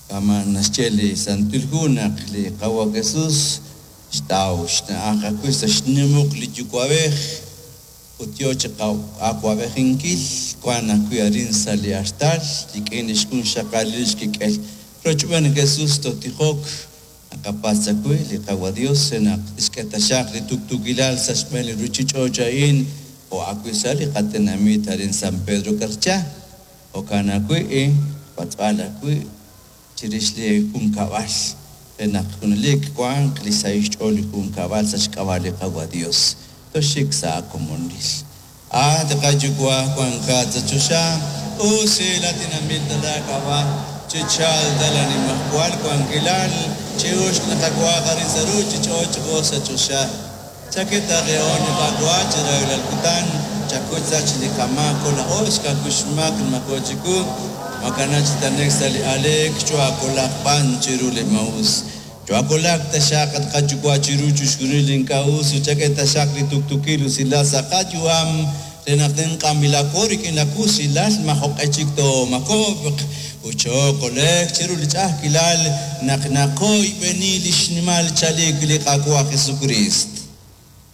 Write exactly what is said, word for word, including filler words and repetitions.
Kama naxye li Santil Hu naq li Qawa' Jesus xtaw xna'aj ajwi' sa' xnimuq li Yuwa'b'ej ut yo chi awa'b'ejinkil wank ajwi' arin sa' li artal rik'in li xjunxaqalil xkik'el. Rochb'een Jesus tootijok naqapatz' ajwi' li Qawa' Dios re naq tixk'e taxaq li tuqtuukilal sa' xb'een li ruuchich'och' a'in jo' ajwi' sa' li qatenamit arin San Pedro Carchá. Jo'kan ajwi' patz'b'al ajwi' chirix li junkab'al re naq junelik wanq li sahil xch'ool li junkab'al sa' xk'ab'a' li Qawa' Dios. Toxik sa' komonil. Ah, li qaYuwa' wankat sa' choxa, usilatinanb'il ta laak'ab'a', chichalq ta laanimajwal wankilal, chi'uxq li qawa arin sa' ruuchich'och' jo' sa' choxa. Chak'e qe li qawa chi rajlal kutan, chakuy sach li qamaak laa'o xkakuy xmaak mako chiku, makana chi t'anek sa' li aleek chuakolaq b'an chiru li maa'us. Chuakolaq taxaq at qaYuwa' chiru chixjunil ink'a' us ut chak'e taxaq li tuqtuukil usilal sa' qayu'am re naq tenq'anb'ilaqo rik'in la kusilal majo'q'e chik toomako'q ut chookole'q chiru li ch'a'ajkilal naq naqoyb'eni li xnimal chalik li Qaawa' Jesucristo.